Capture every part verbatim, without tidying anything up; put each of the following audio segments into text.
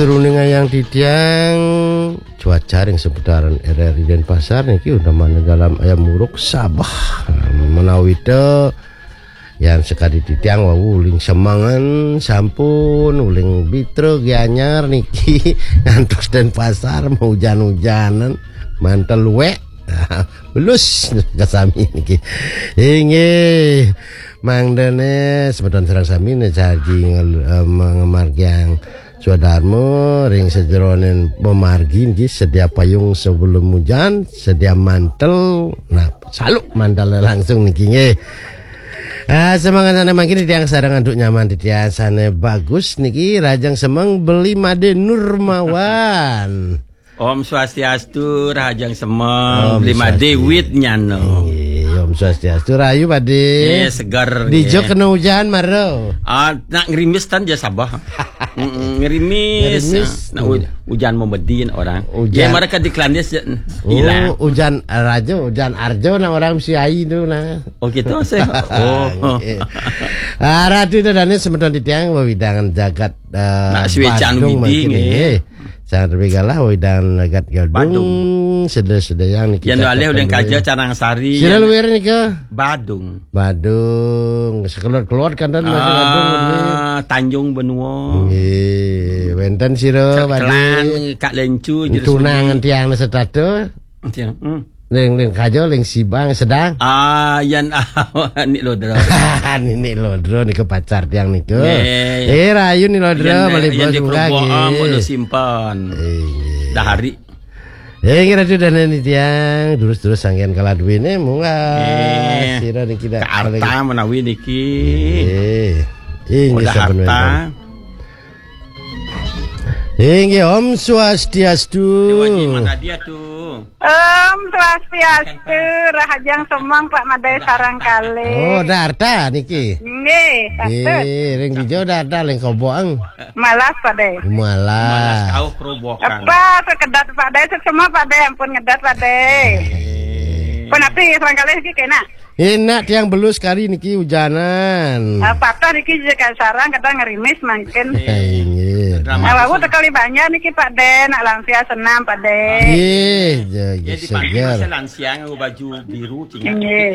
Runing ayang titiang, cuaca ring seputaran R R I Denpasar niki udah mana dalam ayam uruk sabah. Menawi to yan sekadi titiang wau uling semengan sampun uling Bitra Gianyar niki ngantos Denpasar mau hujan-hujanan mantel luek. Belus kasami niki. Inggih. Mangdane semeton sareng sami ne saji ngel-, eh, ngemargiang swadarma ring sajeroning pamargi niki, sedia payung sebelum hujan, sedia mantel. Nah, saluk mantel langsung niki nggih. Ah, semangat sane mangkin titiang sareng antuk nyaman titiang sane bagus niki, Rajang Semeng Beli Made Nurmawan. Om Swastiastu, Rahajeng Semeng, Om Beli Made Swastiastu. Wit nyano. Nggih, Om Swastiastu, rahayu Pade. Eh, seger, dija nggih. Kena hujan mara. Ah, nak ngerimis tan ja sabah. Mm-mm, ngerimis. Ngerimis. Ah, nak hu-, hujan memedin orang. Hujan. Ya, mereka di Kelandis, ya, oh, hilang. Hujan raja, hujan arjo, nah orang si ai tu nah. Oh, gitu, sih. Oh. Nggih. Ah, ratu itu dane semeton titiang wewidangan jagat, eh, nak suecan Badung widi, mangkin nggih. Nggih. Sang terbigalah wewidangan jagat Gadung. Badung. Sedaya-sedayang niki. Yan alih uling kaja Carang Sari. Sira luir nika? Badung. Badung. Sekelot-kelot kanten masih Gadung niki. Ah, Tanjung Benua. Nggih, wenten sira Badung. Cekelan, Kak Lencu, Juru Tunangan Sudi. Tiang setata. Tiang, hmm. Ling, ling kaja, ling sibang, sedang. Ah, yan, Nik Lodra. Nik Lodra nika pacar tiang nika. Nggih. Eh, rahayu Nik Lodra, yan, malih yan bos di munggah, Kerobokan, nggih. Mulu simpan. Nggih. Dah hari. Eh, nggih, ratu dane titiang, terus-terus sanggen kala duwene, munggah. Nggih. Sira niki dah ka arta paling menawi niki. Nggih. Inggih, udah sampun harta. Wenten. Inggih, Om Swastiastu. Dewa Nyi Matadia tuh. Om Swastiastu, Rahajeng Semeng Pak Made sareng kalih. Oh, Darta niki. Nggih, patut. Nggih, ring dija Darta ring Kerobokan. Malas, Pade. Malas. Malas kauh Kerobokan. Apa, sekedap Pade, semua Pade, ampun ngedat Pade. Nggih. Pun api sareng kalih niki kena. Enak tiang belus kari niki hujanan. Ah, patah niki je ka sarang kadang ngerimis mangkin. Inggih. Drama. Ah, wau tekali banjar niki Pade, nak lansia senam Pade. Nggih, ja, ya, ja, di pagi seger. Masa lansia nganggo baju biru, cingak. Nggih.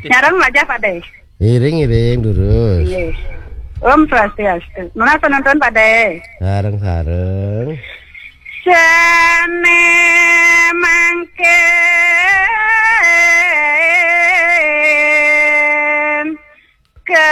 Nyareng wajah Pade. Iring-iring durus. Nggih. Om Swastiastu. Nunas penonton Pade. Sareng-sareng. Sane mangke.